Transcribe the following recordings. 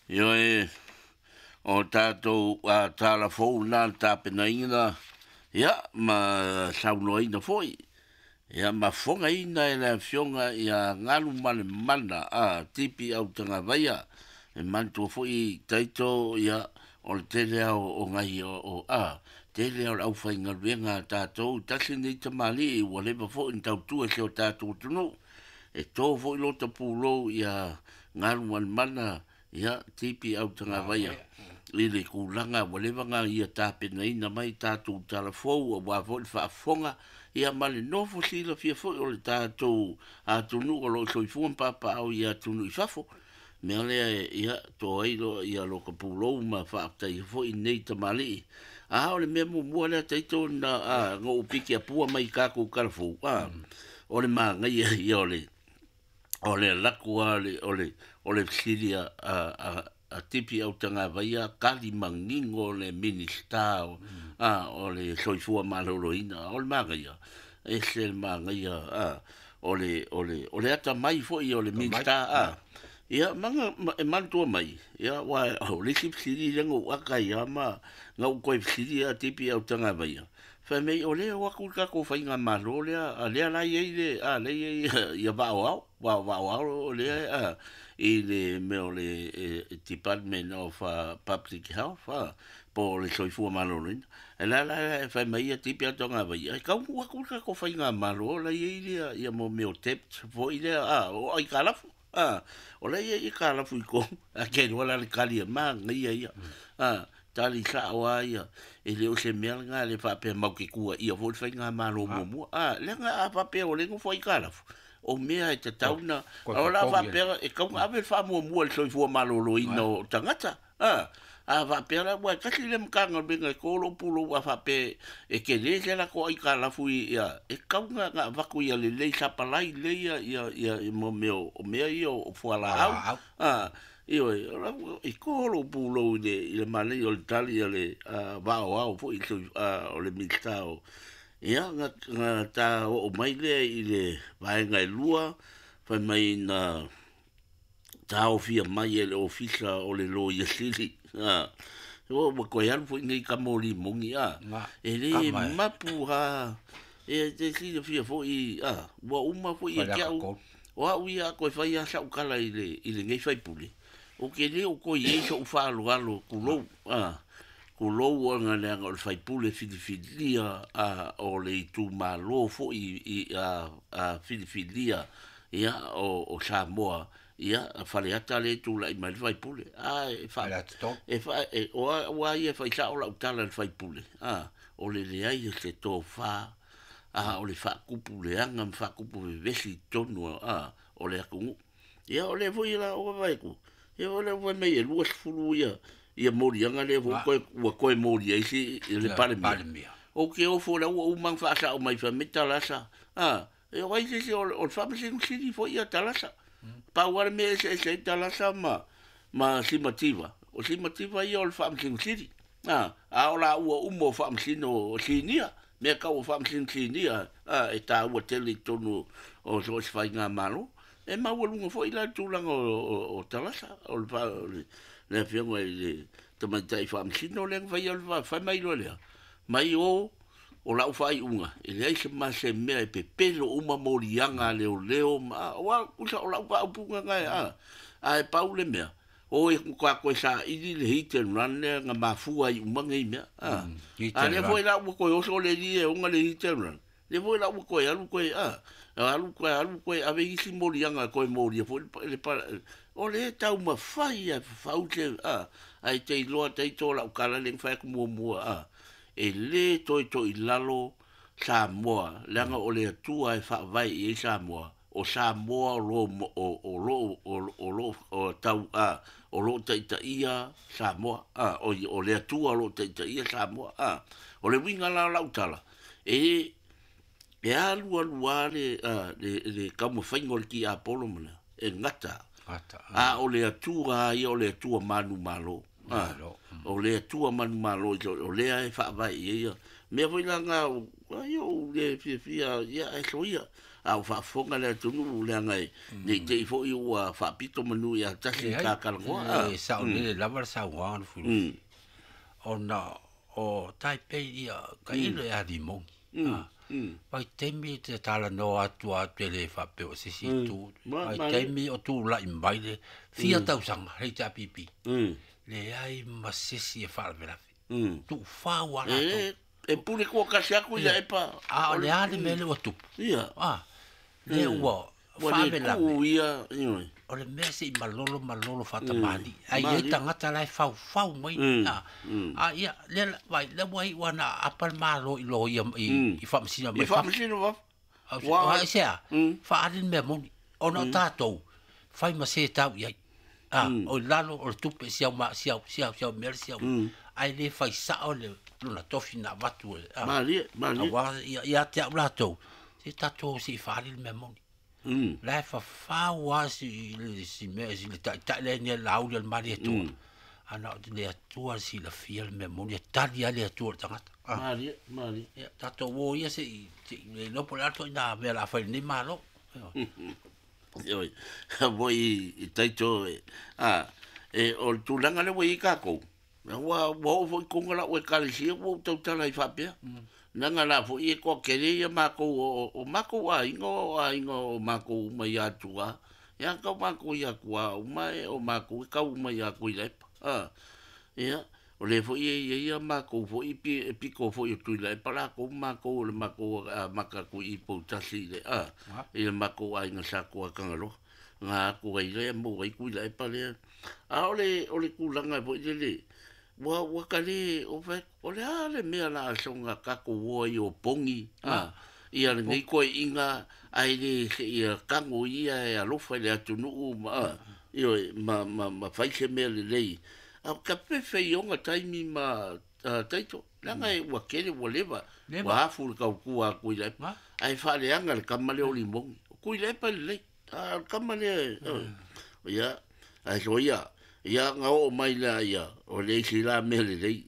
Ioe, o tatou tala fou na le tapenaina, ia, ma saunoaina foi, ia, ma fofogaina e le Afioga ia Galumalemana Tipi Autagavaia. E manatua foi taito, ia, o le tele ao o ngai o tele ao le aufaigaluega a tatou, tasi nei tamalii ua leva foi na tautua si o tatou atunuu. E to foi lota pulou ia Galumalemana, ia, Tipi Autagavaia, i le kulaga ua leva na ia tapenaina mai tatou talafou aua foi le faafofoga, ia, ma le nofo silafia foi o le tatou atunuu o lo o soifua ma papaaao i atunuu i fafo. Mea lea, ia, to ai lo ia lota pulou ma faafetaia foi nei tamalii. A o le mea muamua lea taito na na ou piki apua mai i tatou talafou, o le magaia ia o le alaku a o le fesili a Tipi Autagavaia, tali manino le Minisita o le Soifua Maloloina. O le magaia, ese le magaia, o le atamai foi o le Minisita, ia, maga e manatua mai, ia, ua o le isi fesili lea na ou ata ai lava ma na ou toe fesili a Tipi Autagavaia, fai mai o lea o atu le tatou faigamalo lea, lea la i ai le lea i ai ia vaaoao vaaoao lea i le mea o le Department of Public Health, po o le Soifua Maloloina. E la e fai mai ia Tipi Autagavaia, e taunuu atu le tatou faigamalo la i ai lea ia mo mea o debt foi lea, o aitalafu, o la i ai aitalafu i totonu. A ke iloa la le tali e manaia ia, tali sao lava ia, e le o se mea lena le faapea mau te tuuaia foi le faigamalo muamua, leaga a faapea o le nofo aitalafu, o mea e tatau na o la faapea e tau na ave le faamuamua i le soifua maloloina o tagata. A faapea la ua e tasi le Matagaluega e to lou pulou, a faapea e tele se latou aitalafu ia, e tau na avatu ia lelei sapalai lelei ia ia ia mo mea o mea ia o fualaau. Ioe, e to lou pulou i le manaia o le tali a le vaaoao foi o le Minisita o ia na ta oo mai lea i le vaega e lua, fai mai na taofia mai e le Ofisa o le Loia Sili. Ua toe alu foi nei tama o limoni, e le mapu ha e te silafia foi, ua uma foi e te au o au ia a toe fai a sau tala i lenei faipule, ou te le o toe i ai so'u faaaloalo, tulou, tulou, ona leaga o le faipule filifilia o le itumalo foi i filifilia ia o Samoa, ia Faleata le tulai mai le faipule a e fa e fa e o ua ia fai sao lau tala le faipule, o le leai o se tofa, o le faakupu leaga ma faakupu vevesi i totonu o le atunuu. Ia o lea foi la o vaai atu, ia o lea foi mai e 20 ia moliaga lea foi toe ua toe molia ai si le Palemia. O ke ofo la ua uma faasao mai fai mai Talasa, e o ai se o le Faamasino Sili foi ia Talasa. Pau lava le mea eseese ai Talasa ma Simativa. O Simativa ia o le Faamasino Sili. A o la ua uma o Faamasino o Sinia, mea tau o Faamasino Sinia, e taua tele i totonu o so o se faigamalo. E maualuga foi la le tulaga o Talasa, o le afioga i le tamaitai Faamasino lea na faia le fai mai loa lea. Mai o lau faaiuga, e leai se ma se mea e pepelo uma moliaga a leoleo ma ua kusa o lau faaupuga na a e pau le mea o e ka koe saili le hit and run lea na mafua ai uma nei mea, a lea foi la ua toe oso le li e ona le hit and run lea foi la ua toe alu toe alu toe alu toe ave isi moliaga toe molia foi le o le taumafai e fafau se ae te iloa taito lau tala le fai atu muamua, e lē toe toʻilalo Samoa leaga o le Atua e faavae i ai Samoa. O Samoa o lo o lo o lo o tau o loo taitaia Samoa, o le Atua o loo taitaia Samoa. O le uiga la o lau tala, e alu alu lava le taumafaiga o le tiapolo ma le e gata, a o le Atua ia, o le Atua manumalo, o le Atua manumalo o lea e faavae i ai ia mea foi la na ai ou le fiafia ia ae soia. a o faafofoga le atunuu leaga e ne i te i foi ua faapito manu ia tasi Leai, ta talanoa. E saolele lava le saunoaga Lufilufi. Ona o Taipei ia tailo e a limogi. Vaitaimi e te talanoa atu a te le faapea o se isi itu. Vaitaimi o tulai mai le fia tausaga le HRPP. Leai ma se isi e faalavelave. Tuufau lava latou. E pule toatasi atu ia epa. A o le a le mea lea ua tupu? Ia. Lea ua Ua le faalavelave. tuu ia, ioe. O le mea se i malolo malolo faatamali. Ai ai tagata la e faufau mai. A ia lea vai lea ua iu lava na aapa le Malo i loia i faamasino mai I fafo. faamasino fafo. Ua se a? Faaali le mea moni. Ona o tatou fai ma se tau i ai. O i lalo o le tupe siau ma siau siau siau mea le siau. Ai le fai sao le lona tofi na avatu e. Malie, malie. Aua ia te au latou. Se tatou se i faaali le mea moni. La e fafau lava si le si mea si le taitai lea ni lauli o le Malietoa. Ana o le Atua le silafia le mea moni e tali lava le Atua i le tagata. Malie, malie. Ia, tatou o ia se i se i le iloa po o le a le ituaiga mea o le a fai i lenei Malo. Ioe, foi i taito e, e o le tulaga lea ua i ai tatou, ua oo foi i totonu o lau ekalesia ua ou tautala ai faapea. Leaga la foi e toatele ia matou o matou aiga o aiga o matou uma i Atua. Ia tau matou i Atua uma e o matou e tau uma ia Tuilaepa. Ia, o lea foi e i ai ia matou foi e pito foi o Tuilaepa latou ma matou o le matou amata atu i Poutasi i le i le matou aiga sa Tuatagaloa. Na atu ai lea maua ai Tuilaepa lea. A o le tulaga foi lele, ua ka le, o fai, o le a le mea la soga tatou o ai o pogi, ia lenei toeaiga, ai le se ia tago ia e alofa i le atunuu ma, ioe, ma fai se mea lelei. A o ka fefe i ona taimi ma taito, leaga e ua tele ua leva, ua afu le tautua a Tuilaepa. Ae faaleaga le tama lea o Limogi. O Tuilaepa lelei, a o le tama lea, ia, ae soia, ia na oo mai la ia, o le isi la mea lelei,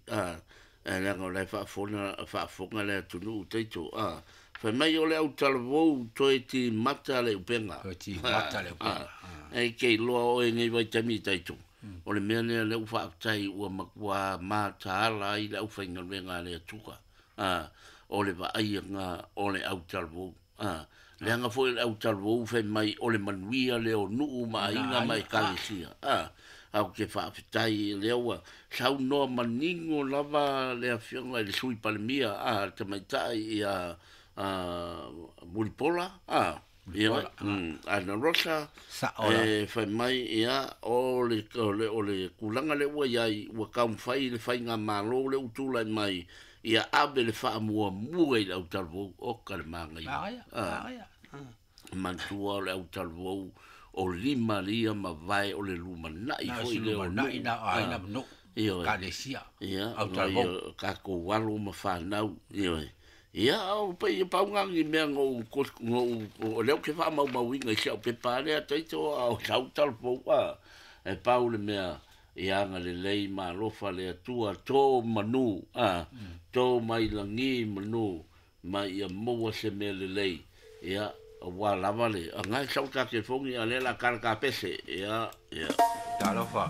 leaga o la e faafofoga le atunuu taito, fai mai o le autalavou toe timata le upega. Toe timata le upega. E ke iloa oe nei vaitaimi taito. O le mea lea lea ua faafetai ua matua mataala ai le aufaigaluega a le Atua. O le vaaiga o le autalavou. Leaga foi le autalavou fai mai o le manuia lea o nuu ma aiga ma ekalesia. Au ke faafetai lea ua saunoa manino lava le afioga i le Sui Palemia, le tamaitai ia Mulipola, ia, Ana Rosa, e fai mai ia o le tulaga lea ua i ai, ua taumafai le faigamalo lea ua tulai mai, ia ave le faamuamua i le autalavou, o ka le magaia. Manatua o le autalavou o lima lia ma vae o le lumanai foi lea o nuu. Lumanai na o Ioe. Ekalesia. Ia, Autalavou. Tatou alo ma fanau, ioe. Ia, o pe ia paunga ni mea ngou o lea ou te faamaumauina i si au pepa lea taito a o sau talavou, e pau le mea ia agalelei ma alofa le Atua, tō manu, tō mai lagi manu, ma ia maua se mea lelei. Ia, ua lava le, a ngai sau ta telefoni, a lea la kala ka pese. Ia, ia. Talofa.